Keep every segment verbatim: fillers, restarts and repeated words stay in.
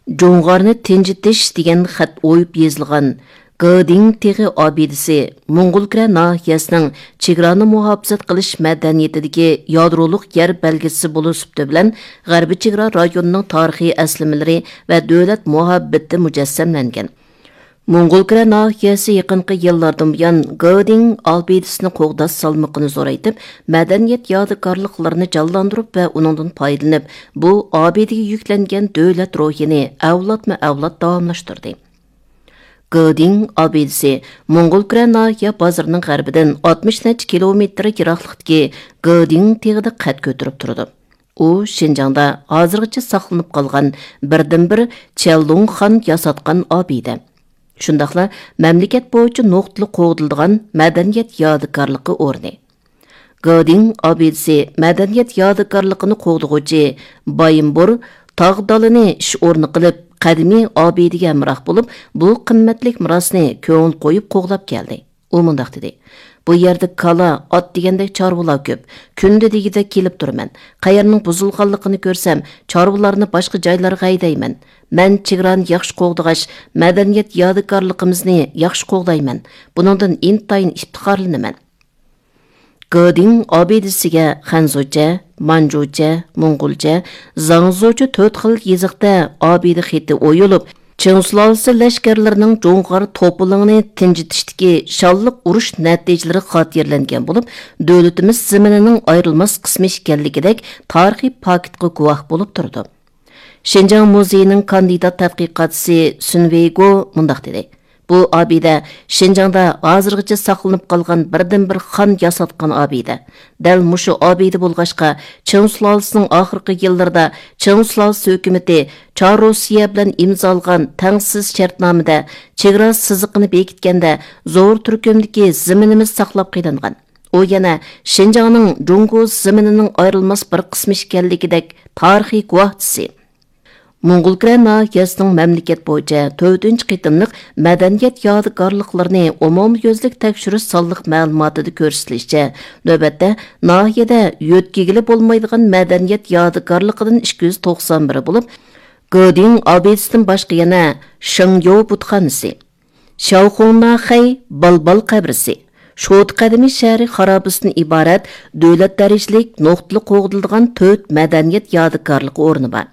جۇڭغارنى تىنجىتىش دېگەن خەت ئويۇپ يېزىلغان گېدىڭ تېغى ئابىدىسى موڭغۇلكۈرە ناھىيەسىنىڭ چېگرانى مۇھاپىزەت قىلىش مەدەنىيىتىدىكى يادرولۇق يەر بەلگىسى بولۇش سۈپىتى بىلەن غەربىي چېگرا رايونىنىڭ تارىخىي ئەسلىمىلىرى ۋە دۆلەت مۇھەببىتى مۇجەسسەملەنگەن. موڭغۇلكۈرە ناھىيەسى يېقىنقى يىللاردىن بۇيان گېدىڭ ئابىدىسىنى قوغداش سالمىقىنى زورايتىپ، مەدەنىيەت يادىكارلىقلىرىنى جانلاندۇرۇپ ۋە ئۇنىڭدىن پايدىلىنىپ، بۇ ئابىدىگە يۈكلەنگەن دۆلەت روھىنى ئەۋلادمۇ ئەۋلاد داۋاملاشتۇردى. گېدىڭ ئابىدىسى موڭغۇلكۈرە ناھىيە بازىرىنىڭ غەربىدىن ئاتمىش نەچچە كىلومېتىر يىراقلىقتىكى گېدىڭ تېغىدا قەد كۆتۈرۈپ تۇرىدۇ. ئۇ شىنجاڭدا ھازىرغىچە ساقلىنىپ قالغان بىردىنبىر چيەنلۇڭ خان ياساتقان ئابىدە. شۇنداقلا مەملىكەت بويىچە نۇقتىلىق قوغدىلىدىغان مەدەنىيەت يادىكارلىقى ئورنى. گېدىڭ ئابىدىسى مەدەنىيەت يادىكارلىقىنى قوغدىغۇچى بايىنبۇر تاغ دالىنى ئىش ئورنى قىلىپ، قەدىمىي ئابىدىگە ھەمراھ بولۇپ، بۇ قىممەتلىك مىراسنى كۆڭۈل قويۇپ قوغلاپ كەلدى. ئۇ مۇنداق دېدى: «بۇ يەردە كالا، ئات دېگەندەك چارۋىلار كۆپ. كۈندە دېگۈدەك كېلىپ تۇرىمەن. قەيەرنىڭ بۇزۇلغانلىقىنى كۆرسەم، چارۋىلارنى باشقا جايلارغا ھەيدەيمەن. مەن چېگرانى ياخشى قوغدىغاچ، مەدەنىيەت يادىكارلىقىمىزنى ياخشى قوغدايمەن. بۇنىڭدىن ئىنتايىن ئىپتىخارلىنىمەن.» گېدىڭ ئابىدىسىگە خەنزۇچە، مانجۇچە، موڭغۇلچە، زاڭزۇچە تۆت خىل يېزىقتا ئابىدە خېتى ئويۇلۇپ، چىڭ سۇلالىسى لەشكەرلىرىنىڭ جۇڭغار توپىلىڭىنى تىنجىتىشتىكى شانلىق ئۇرۇش نەتىجىلىرى خاتىرىلەنگەن بولۇپ، دۆلىتىمىز زېمىنىنىڭ ئايرىلماس قىسمى ئىكەنلىكىدەك تارىخىي پاكىتقا گۇۋاھ بولۇپ تۇرىدۇ. شىنجاڭ مۇزېيىنىڭ كاندىدات تەتقىقاتچىسى سۈن ۋېيگو مۇنداق دېدى: «بۇ ئابىدە شىنجاڭدا ھازىرغىچە ساقلىنىپ قالغان بىردىنبىر خان ياساتقان ئابىدە. دەل مۇشۇ ئابىدە بولغاچقا، چىڭ سۇلالىسىنىڭ ئاخىرقى يىللىرىدا چىڭ سۇلالىسى ھۆكۈمىتى چار روسىيە بىلەن ئىمزالىغان تەڭسىز شەرتنامىدە چېگرا سىزىقىنى بېكىتكەندە زور تۈركۈمدىكى زېمىنىمىز ساقلاپ قېلىنغان. ئۇ يەنە شىنجاڭنىڭ جۇڭگو زېمىنىنىڭ ئايرىلماس بىر قىسمى ئىكەنلىكىدەك تارىخىي گۇۋاھچىسى.» موڭغۇلكۈرە ناھىيەسىنىڭ مەملىكەت بويىچە تۆتىنچى قېتىملىق مەدەنىيەت يادىكارلىقلىرىنى ئومۇميۈزلۈك تەكشۈرۈش سانلىق مەلۇماتىدا كۆرسىتىلىشىچە، نۆۋەتتە ناھىيەدە يۆتكىگىلى بولمايدىغان مەدەنىيەت يادىكارلىقىدىن ئىككى يۈز توقسان بىرى بولۇپ، گېدىڭ ئابىدىسىدىن باشقا يەنە شېڭيو بۇتخانىسى، شياۋخۇڭناخەي بالبال قەبرىسى، شوتا قەدىمىي شەھىرى خارابىسىدىن ئىبارەت دۆلەت دەرىجىلىك نۇقتىلىق قوغدىلىدىغان تۆت مەدەنىيەت يادىكارلىقى ئورنى بار.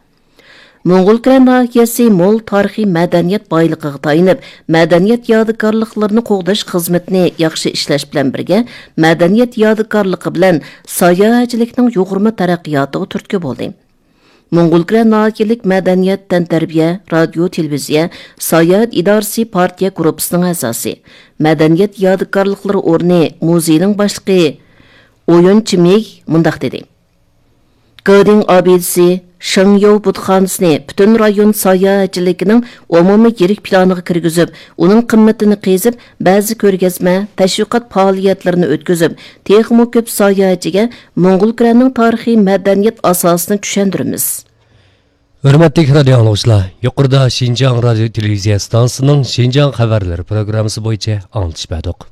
موڭغۇلكۈرە ناھىيەسى مول تارىخىي مەدەنىيەت بايلىقىغا تايىنىپ، مەدەنىيەت يادىكارلىقلىرىنى قوغداش خىزمىتىنى ياخشى ئىشلەش بىلەن بىرگە، مەدەنىيەت يادىكارلىقى بىلەن ساياھەتچىلىكنىڭ يۇغۇرما تەرەققىياتىغا تۈرتكە بولدى. موڭغۇلكۈرە ناھىيەلىك مەدەنىيەت، تەنتەربىيە، رادىيو، تېلېۋىزىيە، ساياھەت ئىدارىسى پارتىيە گۇرۇپپىسىنىڭ ئەزاسى، مەدەنىيەت يادىكارلىقلىرى ئورنى مۇزېيىنىڭ باشلىقى ئويۇن چىمىگ مۇنداق دېدى: «گېدىڭ ئابىدىسى، شېڭيو بۇتخانىسىنى پۈتۈن رايون ساياھەتچىلىكىنىڭ ئومۇمىي يىرىك پىلانىغا كىرگۈزۈپ، ئۇنىڭ قىممىتىنى قېزىپ، بەزى كۆرگەزمە، تەشۋىقات پائالىيەتلىرىنى ئۆتكۈزۈپ، تېخىمۇ كۆپ ساياھەتچىگە موڭغۇلكۈرەنىڭ تارىخىي مەدەنىيەت ئاساسىنى چۈشەندۈرىمىز.» ھۆرمەتلىك رادىيو ئاڭلىغۇچىلار، يۇقىرىدا شىنجاڭ رادىيو تېلېۋىزىيە ئىستانسىسىنىڭ شىنجاڭ خەۋەرلىرى پروگراممىسى بويىچە ئاڭلىتىش بەردۇق.